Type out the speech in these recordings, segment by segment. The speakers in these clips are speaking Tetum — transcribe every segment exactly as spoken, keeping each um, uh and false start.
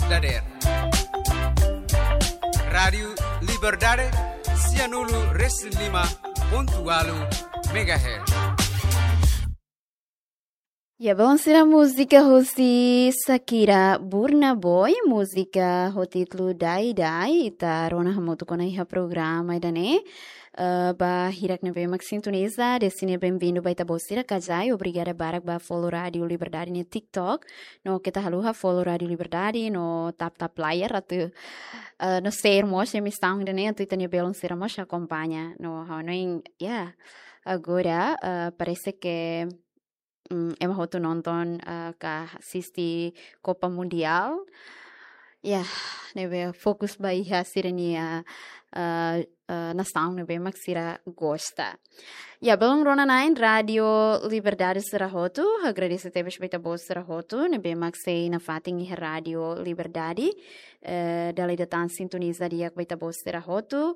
Dader. Rádiu Liberdade, sianulu resin lima pontu ualu megahertz. Ya, bom, sira múzika husi Shakira, Burna Boy, múzika ho títulu Dai Dai, ita rona hamutuk ona iha programa ida-ne'e. Eh, ba hirak ne'ebé mak sintoniza, dezde ne'e bem-vindo ba ita-boot sira, ka di'ak, obrigada barak ba follow Rádiu Liberdade nia TikTok. No keta haluha follow Rádiu Liberdade, no tap-tap layar, atu, eh, no share mós emisaun ida-ne'e, atu ita-nia belun sira mós akompaña. No ha'u hanoin, ya, agora, eh, parese ke, mm, ema hotu nonton, eh, ka asiste Copa Mundial. Ya, ne'ebé fokus ba iha sira-nia, eh, eh, nasaun ne'ebé mak sira gosta. Ya, belun rona-na'in Rádiu Liberdade sira hotu, agradese tebes ba ita-boot sira hotu ne'ebé mak sei nafatin iha Rádiu Liberdade, eh, dala ida tan sintoniza di'ak ba ita-boot sira hotu.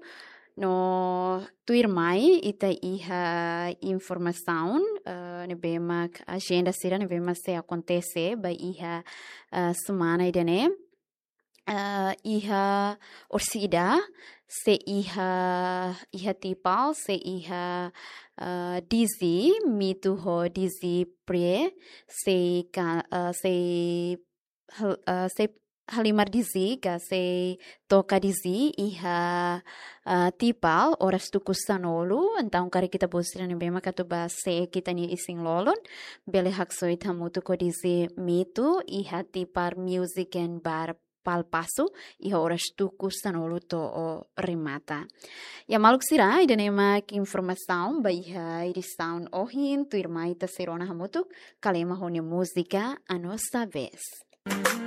No tuirmai ita iha informasaun, eh, ne'ebé mak ajenda sira ne'ebé mak sei akontese ba iha, eh, semana ida-ne'e. Eh, iha orsida, sei iha, iha Tipal, sei iha, eh, D J Mitu ho D J Prie, sei ka-, eh, sei hal-, eh, sei halimar D J ka sei toka D J iha, eh, Tipal, oras tuku sanulu. Entaun karik ita-boot sira ne'ebé mak atu bá seek ita-nia isin-lolon, bele haksoit hamutuk ho D J Mitu iha Tipar Music and Bar Palpasu, iha oras tuku sanulu to'o remata. Ya maluk sira, ida-ne'e mak informasaun ba iha edisaun ohin, tuirmai ita sei rona hamutuk Kalema ho nia múzika A Nossa Vez.